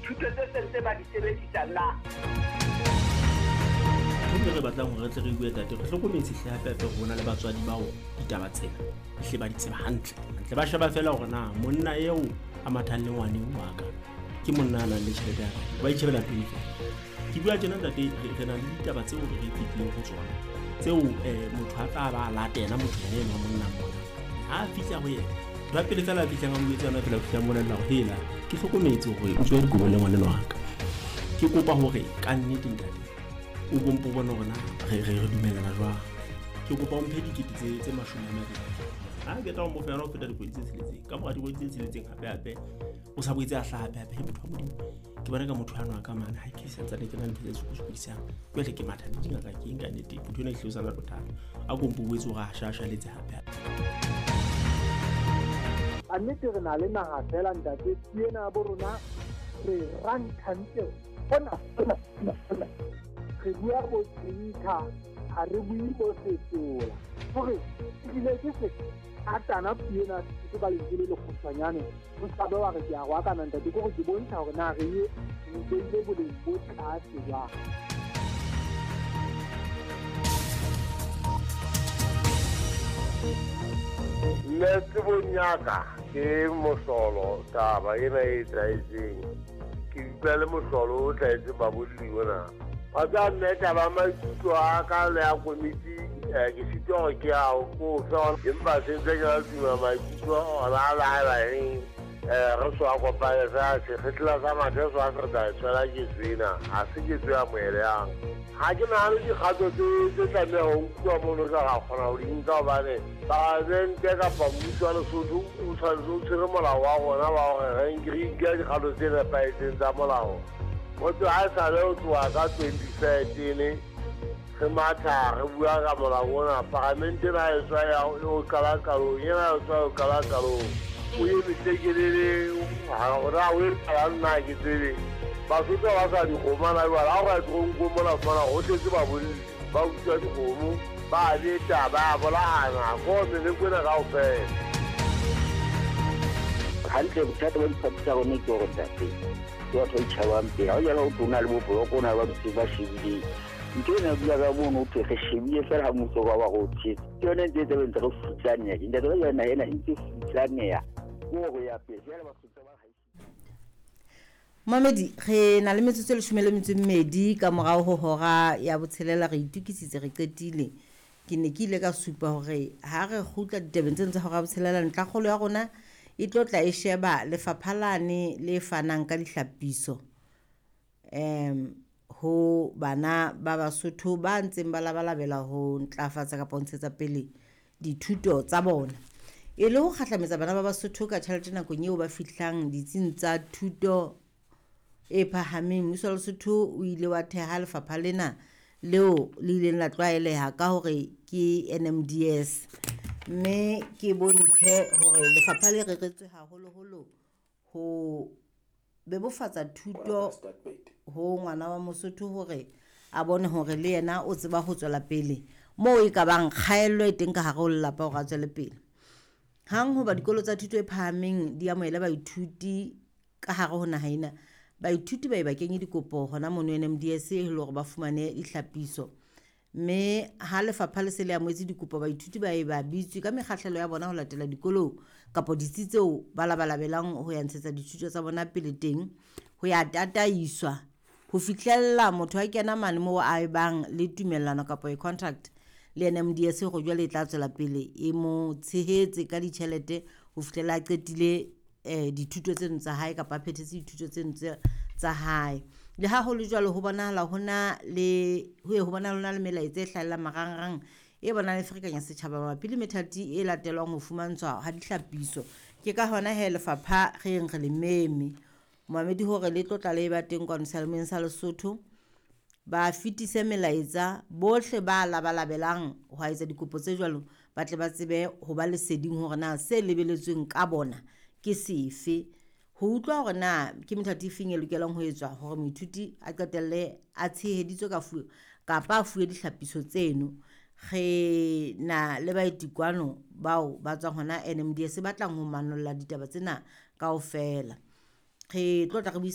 Dithuto tse sentse ba di sebedisa na? Ntho re batlang hore re tle re bue, tate, re hlokometse hle hape hape ho na le batswadi bao ditaba tsena hle ba di tseba hantle hantle. Ba sheba fela hore na monna eo a mathang le ngwane wa ka ke monna a nang le tjhelete ya kae, ba itjhebela pele fela. Ke bua tjena, ntate, re na le ditaba tseo re re fetileng ho tsona tseo motho a tla ba a latela motho yena eno wa monna mona. Ha a fihla ho yena, ntho ya pele fela a fihlang a mo jwetsa yona fela, o fihla a mmolella hore hela, ke hlokometse hore o tswe dikobong le ngwaneno wa ka. Ke kopa hore ka nnete, ntate, o kompo bone hore na re dumellana jwang. Ke kopa o mphe 220 000. Ha ke tla o mo fa yona ho feta dikgwedi tse 6. Ka mora dikgwedi tse 6 hape hape o sa boetse a hlaha hape hape. He, motho wa Modimo, ke bona ka motho ano a ka mane ha ke santsane ke na le ntho tse sokosokodisang. Jwale ke matha le dingaka ke eng ka nnete, motho ena ehlile o sa na le bothata. A kompo o boetse hore a shashaletse hape hape. A nnete re na le naha fela, ntate, ena bo rona re ranthantle hona hona hona. Re bua bo tsinka, ha re bue bo setola. Hore ebile ke se atana puo ena ke ka lentswe le lekgutshwanyane, o sa be wa re ke a roakana, ntate, ke hore ke bontsha hore na re ye re beile boleng bo tlase jwang. Nna tsebong ya ka ke mohlolo taba ena e etsahetseng. Ke utlwa le mohlolo o tlahetseng babolli ona. Wa tseba mme, taba maikutlo a ka le ya komiti, ke sitwa hore ke a ko fe, empa se ntse ke na le tumelo maikutlo ona a laela eng. Re so a kopane fela sekgetla sa mathe so a se re tla e tshwela ketso ena, ha se ketso ya moelehang. Ha ke nahane dikgato tse tlameha ho nkuwa mono ka ra kgona ho di nka, hobane palamente kapa mmuso wa Lesotho o tshwanetse o tshwere molao wa rona wa hore re nke dikgato tse nepahetseng tsa molao. Motho ha e sale ho tloha ka 2013 re matha re bua ka molao ona, palamente ena e tswa ya o qala qalong, ena e tswa o qala qalong, o eme tlekelele hore o etsalang nna ke tsebe. Basotho ba sa dikgomo na jwale, ha o ka toronkong mona fumana ho tletse babolli ba utswa dikgomo, ba beta, ba bolayana ko meleko ena kaofela. Hantle, bothata ba diphathi tsa rona ke hore, ntate, ke batho ba itjhabang pele. Ha o jala ho thwe o na le boboloko, o na le ba dutseng ba shebileng ntho ena, dula ka mono, ho thwe re shebile fela ha mmuso ba ba re o tshetse. Ke yone ntse e tse ntse re futsaneha ke, ntate, ba jale naha ena e ntse futsaneha ke hore ya pele jale Basotho ba Mamedi, re na le metsotso e 12 ka morao ho hora ya 6. Re itukisitse, re qetile. Ke ne ke ile ka supa hore ha re kgutla ditabeng tseno tsa hora ya 6, ntlhakgolo ya rona e tlo tla e sheba lefapha lane le fanang ka dihlapiso ho bana ba Basotho ba ntseng ba labalabela ho ntlafatsa kapa ho ntshetsa pele dithuto tsa bona. E le ho kgahlametsa bana ba Basotho ka tjhelete nakong eo ba fihlang ditsing tsa thuto e phahameng, mmuso wa Lesotho o ile wa theha lefapha lena leo le ileng la tlwaeleha ka hore ke NMDS. Mme ke bontshe hore lefapha le reretswe haholoholo ho bebofatsa thuto ho ngwana wa Mosotho hore a bone hore le yena o tseba ho tswela pele moo e ka bang kgaello e teng ka hare ho lelapa hore a tswele pele. Hang hoba dikolo tsa thuto e phahameng di amohele baithuti ka hare ho naha ena, baithuti ba e ba kenye dikopo hona mono NMDS e le hore ba fumane dihlapiso. Mme ha lefapha le se le amohetse dikopo, baithuti ba e ba bitswe ka mekgahlelo ya bona ho latela dikolong kapa ditsi tseo ba labalabelang ho ya ntshetsa dithuto tsa bona pele teng, ho ya tataiswa ho fihlella motho a kena mane moo a e bang le tumellano kapa e contract le NMDS hore jwale e tla tswela pele e mo tshehetse ka ditjhelete ho fihlela a qetile dithuto tseno tsa hae kapa a phethetse dithuto tseno tsa hae. Le ha ho le jwalo, ho bonahala ho na le ho ye ho bonahala ho na le melaetsa e hlahellang marangrang e bonang e ferekanya setjhaba mabapi le methati e latelwang ho fumantshwa ha dihlapiso. Ke ka hona he lefapha re yeng re le meme momamedi hore le tlo tla le ba teng kwano seyalemoyeng sa Lesotho, ba fetise melaetsa bohle ba labalabelang ho etsa dikopo tse jwalo, ba tle ba tsebe ho ba leseding hore na se lebeletsweng ka bona ke sefe, ho utlwa hore na ke methati e feng e lokelang ho etswa hore moithuti a qetelle a tsheheditswe ka fuwe kapa a fuwe dihlapiso tseno. Re na le baeti kwano bao ba tswang hona NMDS ba tlang ho manolla ditaba tsena kaofela. Re tlo tla re